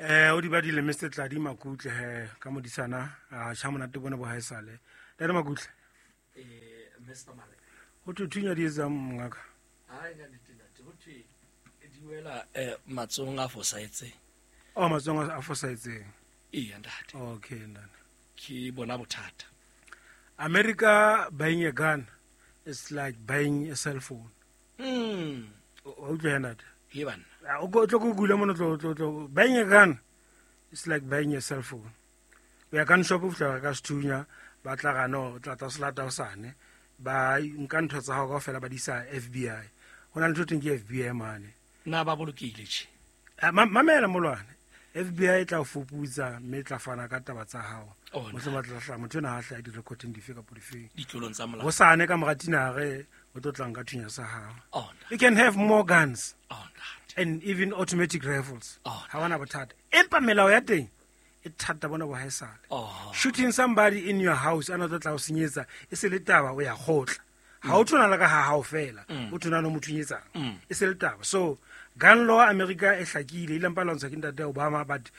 O di badile Mr Tladi Makutle he ka modisana a cha monate bone bo haesale. Tladi Makutle. Mr Mare. Ho thwe thunya di etsang mongaka? Hai ka nnete ntate, ho thwe di wela matsohong a fosahetseng. Oh, matsohong a fosahetseng. Eya ntate. Okay ntate. Ke bona bothata. America buying a gun is like buying a cell phone. O utlwe ntate. He banna. O tlo go gula mono tlo buying a gun is like buying a cell phone. O ya gun shop o fihla ka sethunya ba tla gana o tla tla se lata hosane ba nka ntho tsa hao kaofela ba di isa FBI. Ho na le ntho teng ke FBI mane. Na ba bolokehile tjhe? Mamela molwane. FBI e tla o fuputsa mme e tla fana ka taba tsa hao. Oh, Mohlomong ba tla hlaha motho ena ha hlaha di-recording dife kapa difeng. Ditlolong tsa molao. Hosane ka mora tinare o tlo tla nka thunya sa hao. Oh, ntate. You can have more guns. Oh, ntate. And even automatic rifles. Oh, Ha wana bothata. Empa melao ya teng e thata bona bo haesale. Oh. Shooting somebody in your house ana tlo tla o senyetsa e se le taba o ya kgotla. Ha o thona le ka ha hao fela, o thona le motho nyetsang. E se le taba. So gun law America e hlakile, ile mpa lwantsha ke ntate Obama, but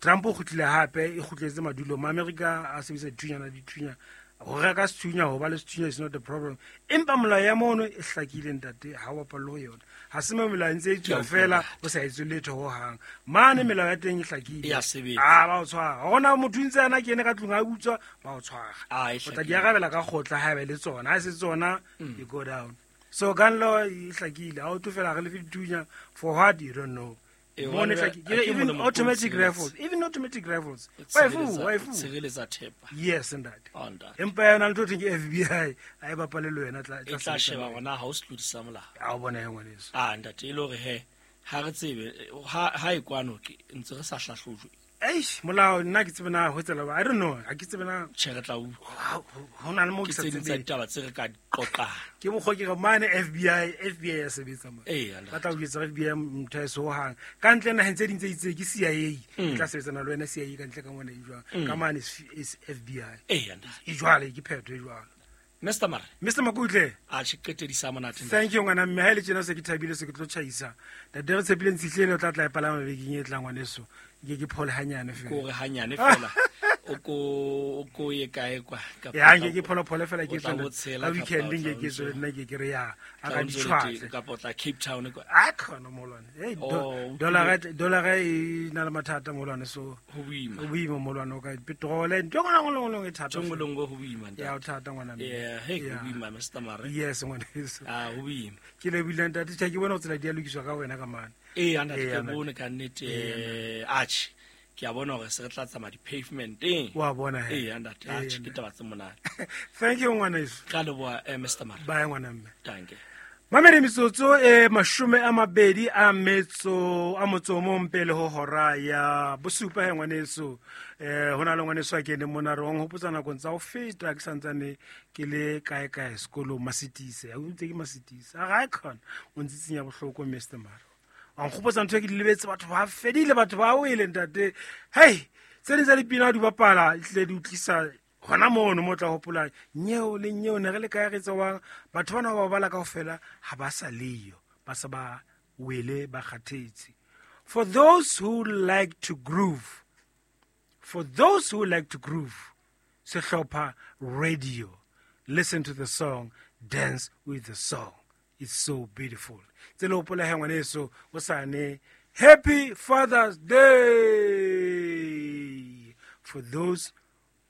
Trump o kgutlile hape, e kgutletse madulo. Ma America a sebedisa dithunya dithunya. Ho reka sethunya, ho ba le sethunya is not a problem. Empa molao ya mono e hlakile ntate, ha o bapalle ho yona. Ha se mo melao e ntse e tswa fela, o sa etse letho ho hang. Mane melao ya teng e hlakile. E a sebetsa. Ah, ba o tshwara. Ha hona motho ntse ana kene ka tlung a utswa, ba o tshwara. Ah, e O tla di hlakile. arabela ka kgotla ha ebe le tsona. Ha se tsona, you go down. So gun law e hlakile. Ha o tlo fela re lefe dithunya for what you don't know. E, Mone hobane hlakile. ha ke Even molomo automatic o rifles, even automatic rifles. O Wa e fuwa, tshireletsa- wa e fuwa. tshireletsa thepa. Yes, ntate. Oh, ntate. Empa yona ntho theng ke FBI, ha e bapale le wena, E tla sebetsa sheba le wena. hore na ha o setlodi sa molao. Ha o bona he ngwaneso. Ah, ntate, e le hore he, ha re tsebe, ha e kwano ke ntse re sa hlahlojwe. Eish, molao nna ke tsebe na ho tsela ba. I don't know, ha ke tsebe na. Tjhe, re tla utlwa. Ho na le moo Ke ke sa tse ding tsa tsebeng. ditaba tse re ka di qoqang. Ke mokgwa ke re mane FBI, FBI ya sebetsa mane. Eya, ntate. Ba tla o jwetsa FBI motho ha e so hang. Ka ntle naheng tse ding tse itseng ke CIA. E tla sebetsana le wena CIA ka ntle ka mona e jwang. Ka mane is FBI. Eya, ntate. E jwale ke phetho e jwalo. Mr Mare. Mr Makutle. A tjhe, qetedisa monate, ntate. Thank you ngwana mme, ha ile tjena se ke thabile se ke tlo tjhaisa. Ntate re tshepile ntshihlele o tla tla e palama bekeng e tlang ngwaneso. Ke ke phole hanyane fela. Ke hore hanyane fela. O ko ye kae kwa? Kapa Ya, nke ke phole phole fela ke o tla tswele. bo tshela Ka kapa weekend o tla nke ke o tswele ntse- nna ke ke re ya, a tla ka o ntse o le ditjhwatle. teng, kapa o tla Cape Town kwa. A khona molwane. Hey, Oh, o dollar e na le mathata molwane, so Ho boima. Ho boima molwane, o ka petrol, ntho e nngwe le nngwe e thata. Ntho e nngwe le nngwe ho boima, ntate. Ya, o thata ngwana mme. Yeah, hey, ho Yeah. boima, Mr Mare. Yes, ngwaneso. Ah, ho boima. Ke lebohile ntate, tjhe, ke bona ho tsela di a lokiswa ka wena ka mane. Ee, ntate, Ee, ke ntate. bone ka nnete, Ee, ntate. atjhe. Ke a bona hore se re tla tsamaya di-pavementeng. Wa bona he. Ee, ntate, Ee, atjhe, ke ntate. taba tse monate. Thank you, ngwaneso. Ka leboha, Mr Mare. Bye, ngwana mme. Danke. Mamedi metsotso e 22 a metso a motso o mong pele ho hora ya bosupa he ngwaneso. Ho na le ngwaneso a keneng mona re o nhopotsa nakong tsa ho feta ke santsane ke le kae kae sekolong Masitise. A ntse ke Masitise. A ga e khona o ntsitsinya bohloko Mr Mare. Wa nkgopotsa ntho e ke di lebetse, batho ba fedile, batho ba wele ntate. Hey, tse ding tsa dipina di bapala, ehlile di utlwisa hona mono mo tla hopola nyeo le nyeo ne re le kae re tsewang. Batho bana ba bala kaofela ha ba sa leyo, ba sa ba wele, ba kgathetse. For those who like to groove, for those who like to groove, sehlopha radio, listen to the song, dance with the song. It's so beautiful. Tse le hopola he ngwaneso, o sane Happy Father's Day for those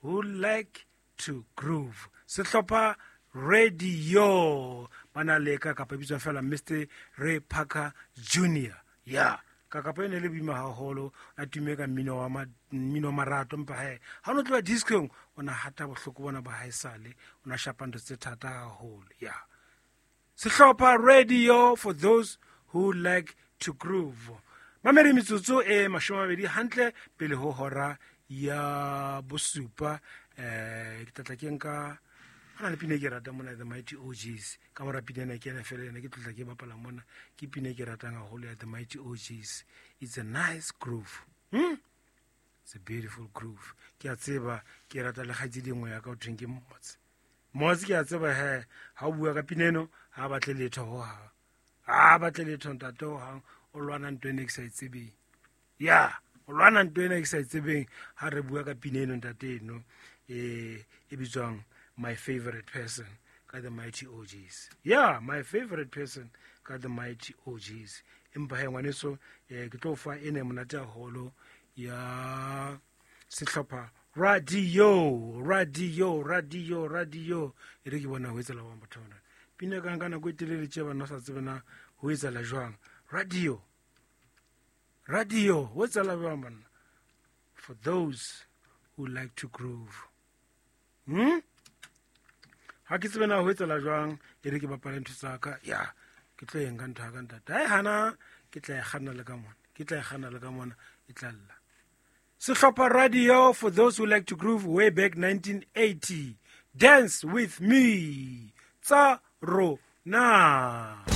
who like to groove. Sehlopha radio ba na le ka kapa bitswa fela Mr Ray Parker Junior. Yeah, ka kapa ene le boima haholo, a tume ka mmino wa mmino wa marato, empa he ha o no tloha disco-eng, o na hata bohloko bona ba haesale, o na shapa ntho tse thata haholo. Yeah. Sehlopha radio for those who like to groove. Mamedi metsotso e 20 hantle pele ho hora ya bosupa. Ke tlatla ke nka ho na le pina e ke ratang mona, The Mighty OGs. Ka mora pina ena ke ena fela ena ke tlotla ke bapala mona, ke pina e ke ratang haholo ya The Mighty OGs. It's a nice groove. It's a beautiful groove. Ke a tseba ke rata le kgaitsedi e nngwe ya ka ho thweng ke Mmotse. Mmotse ke a tseba he, ha o bua ka pina eno, ha batle letho ho hang. Ha batle letho ntate ho hang, o lwana ntho ena e ke sa e tsebeng. Yeah. O lwana ntho ena ke sa e tsebeng ha re bua ka pina eno ntate eno e bitswang My Favorite Person ka The Mighty OGs. Yeah, My Favorite Person ka The Mighty OGs. Empa he ngwaneso, ke tlo fa ene monate haholo ya sehlopha radio radio radio radio. E re ke bona ho etsala wa batho bana pina ka nka nako e telele tje bana sa tsebe na ho etsala jwang. Radio radio ho etsala jwang banna? For those who like to groove. Ha ke tsebe na ho etsala jwang. E re ke bapale ntho tsa ka. Ya, ke tlo eng ka ntho ya ka ntate. Ha e hana, ke tla e kganna le ka mona. Ke tla e kganna le ka mona, e tla lla. Sehlopha Radio, for those who like to groove, way back 1980. Dance with me. Tsa rona.